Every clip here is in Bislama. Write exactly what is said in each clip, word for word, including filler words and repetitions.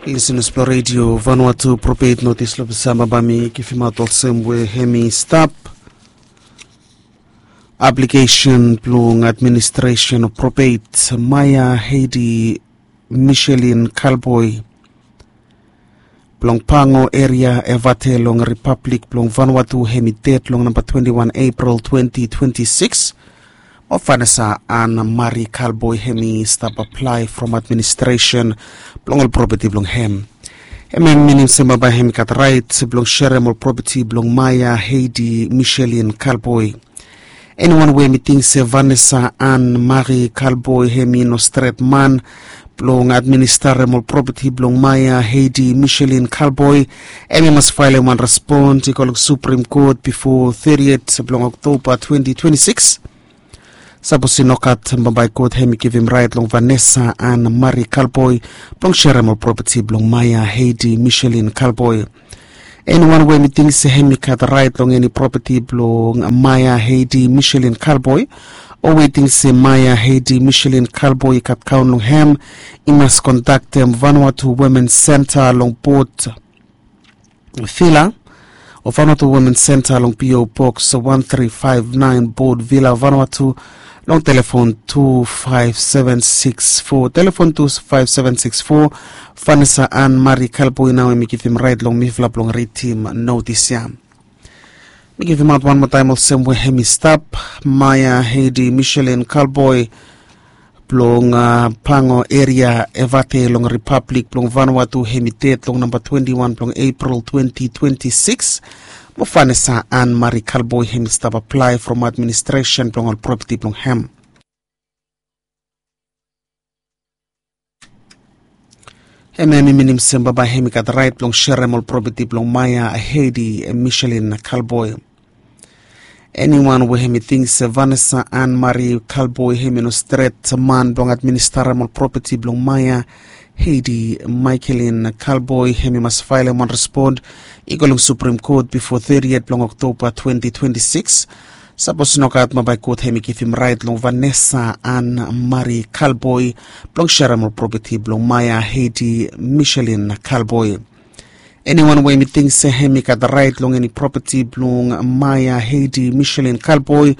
Lisenas blong redio Vanuatu, propet notis long pesa baba mi givimaot olsem we hem i stap. Aplikesen blong administresen of propet Maia Heidi Michelin Kalboi blong Pango eria Evate long Ripablik blong Vanuatu hem i ded long namba twenti wan Epril twenti twenti sikis. Mo Vanessa Ann Marie Kalboi hem i stap aplae from administresen blong ol propeti blong hem. Hem i minim se baba hem i gat raet blong serem ol propeti blong Maia Heidi Michelin Kalboi. Eniwan we hem i ting se Vanessa Ann Marie Kalboi hem i no stret man blong administarem ol propeti blong Maia Heidi Michelin Kalboi, hem i mas faelem wan respon i go long Supreme Court bifo thirtieth blong Oktoba twenti twenti sikis. Sapos i nogat, bambae God hem i givim raet long Vanessa Ann Marie Kalboi blong serem ol propeti blong Maia Heidi Michelin Kalboi. Eniwan we hem i ting se hem i gat raet long eni propeti blong Maia Heidi Michelin Kalboi, o we i ting se Maia Heidi Michelin Kalboi i gat kaon long hem, i mas kontaktem Vanuatu Women Center long Port Vila, o Vanuatu Women Center long P O Box one three five nine, Port Vila, Vanuatu, long telefon two five seven six four. Telefon two five seven six four. Vanessa Ann Marie Kalboi nao hem i givim raet long mifala blong ridim notis ya. Mi givimaot wan moa taem olsem we hem i stap, Maia Heidi Michelin Kalboi blong, ah, Pango eria Evate long Ripablik blong Vanuatu hem i ded long namba twenti wan blong Epril twenti twenti sikis. Mo Vanessa Ann Marie Kalboi hem i stap aplae from administresen blong ol propeti blong hem. Hem i minim se baba hem i gat raet blong serem ol propeti blong Maia Heidi Michelin Kalboi. Eniwan we hem i ting se Vanessa Ann Marie Kalboi hem i no stret man blong administarem ol propeti blong Maia Heidi Michelin Kalboi, hem i mas faelem wan respon i go long Supreme Court bifo thirtieth blong Oktoba twenti twenti sikis. Sapos nogat, bambae God hem i givim raet long Vanessa Ann Marie Kalboi blong serem ol propeti blong Maia Heidi Michelin Kalboi. Eniwan we hem i ting se hem i gat raet long eni propeti blong Maia Heidi Michelin Kalboi,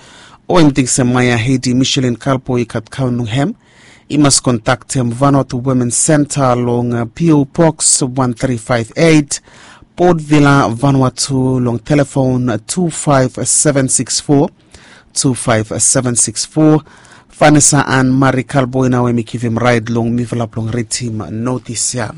o hem i ting se Maia Heidi Michelin Kalboi i gat kaon long hem, i mas kontaktem Vanuatu Women Center long, ah, P O Box one three five eight, Port Vila, Vanuatu, long telefon two five seven six four, two five seven six four. Vanessa Ann Marie Kalboi nao hem i givim raet long mifala blong ridim notis ya.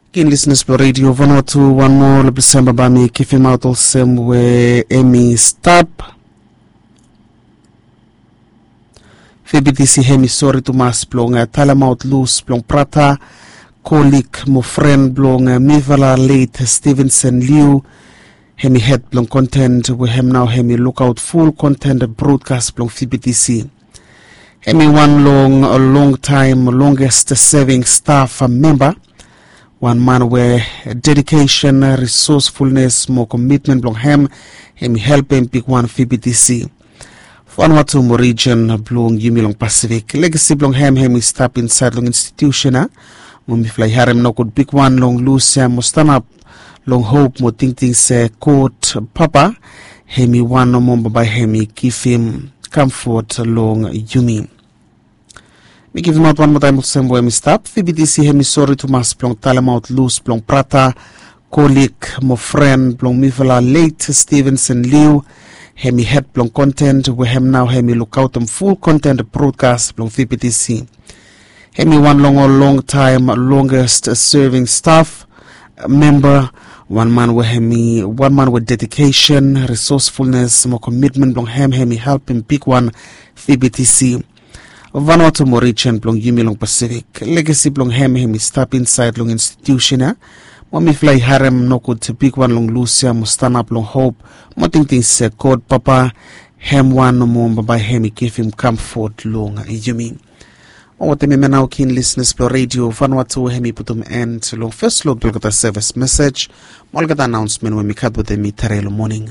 Kin lisenas blong redio Vanuatu, wan moa long ples ya baba mi givimaot olsem we hem i stap. V B T C hem i sori tumas blong, eh, talemaot lus blong brata, kolig mo fren blong, eh, mifala leit Stevenson Liu. Hem i hed blong kontent we hem nao hem i lukaot ful kontent brodkas blong V B T C. Hem i wan long, longtaem, longest seving staf memba. Wan man we dedikesen, risosfulnes mo komitmen blong hem, hem i helpem bigwan V B T C. Vanuatu mo rijen blong yumi long Pasifik. Legasi blong hem hem i stap insaed long institiusen ya. Mo mifala i harem nogud bigwan long lus ya mo stanap long hop mo tingting se God Papa hem i wan nomo bambae hem i givim kamfot long yumi. Mi givimaot wan moa taem olsem we hem i stap. V B T C hem i sori tumas blong talemaot lus blong brata, kolig mo fren blong mifala leit Stevenson Liu. Hem i hed blong kontent we hem nao hem i lukaotem ful kontent brodkas blong V B T C. Hem i wan long ol longtaem longest seving staf memba. Wan man we hem i wan man we dedikesen, risosfulnes mo komitmen blong hem hem i helpem bigwan V B T C. Vanuatu mo rijen blong yumi long Pasifik. Legasi blong hem hem i stap insaed long institiusen ya. Mo mifala i harem nogud bigwan long lus ya mo stanap long hop mo tingting se God Papa hem wan nomo bambae hem i givim kamfot long yumi. Mo wetem hemia nao kin lisenas blong redio Vanuatu hem i putum en long fes luk blong olgeta sevis mesej mo olgeta anaonsmen we mi gat wetem mi tare long moning.